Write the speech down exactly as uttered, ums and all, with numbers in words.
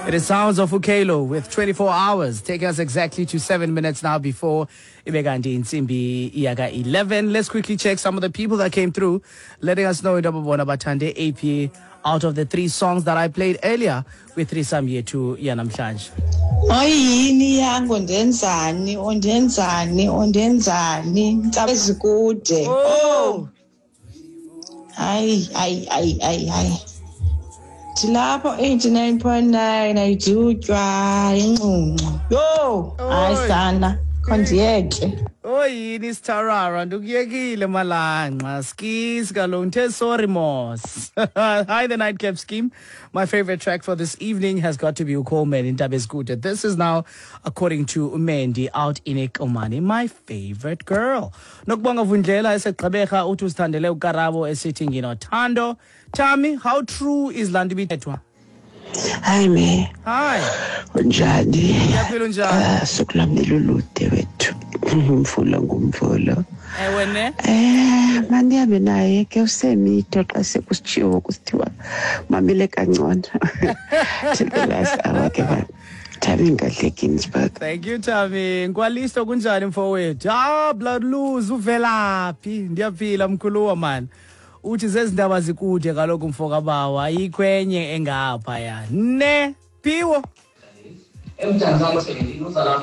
It is sounds of Ukelo with twenty-four hours. Take us exactly to seven minutes now before ibe kanti intsimbi yaka eleven. Let's quickly check some of the people that came through, letting us know into bona bathande A P out of the three songs that I played earlier with threesome yethu yanamhlanje. Oyini yangu, ndenzani, undenzani, undenzani, ntsaba ezikude. Oh, hayi, hayi, hayi, hayi, hayi, ndilapho eighty-nine point nine, ayidutywa inxunxu, yho, hayi. Oy. Sana, khondiyeke. Oyini sitharara, ndikuyekile malanqa skis kaloku, ndithe sorry mos. Hi, the Nightcap Scheme. My favorite track for this evening has got to be uColeman, Intaba Ezikude. This is now according to Umendi out in Ekomani, my favorite girl. Nokubonga Vundlela eseGqeberha uthi usithandele uKarabo esithi Nginothando. Tami, how true is laa nto ibithethwa? Hayi me. Hi. Unjani? Ndiyaphila, unjani? Ah, suku lwam lulude wethu. Umvulo ngumvulo. Ewe ne. Eh, mandihambe naye ke usemito xa sekusitshiwo kusithiwa mamele kangcono. Till the last hour ke ba. Tami Ngadle, Ginsburg. Thank you, Tami. Nkwalisto, kunjani mfowethu? Ah, blood lose uvelaphi? Ndiyaphila mkhuluwa man. Uthi zezindaba zikude kaloku mfokabawa, ayikho enye engapha ya. Ne, Phiwo.